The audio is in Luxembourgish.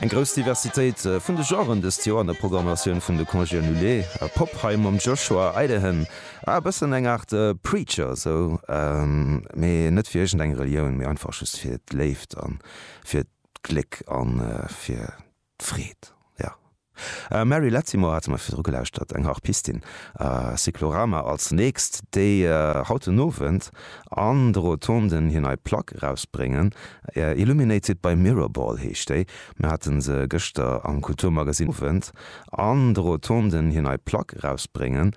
Eng grouss Diversitéit vun de Genren dëst Joer an der Programmatioun vun de Congés Annulés. Pop hei mam Joshua Idehen, e bëssen eng Aart Preacher esou, mee net fir iergend eng Relioun, mee einfach just fir d'Léift a fir d'Gléck a fir d'Freed, jo. Mary Lattimore hate mer virdru gelauschtert, eng Harpistin. Cyclorama als nächst, déi haut den Owend an de Rotonden hir nei Plack erausbréngen. Illuminated by Mirrorball heescht déi. Mir hate se gëschter am Kulturmagasinn Owend an de Rotonden hir nei Plack erausbréngen.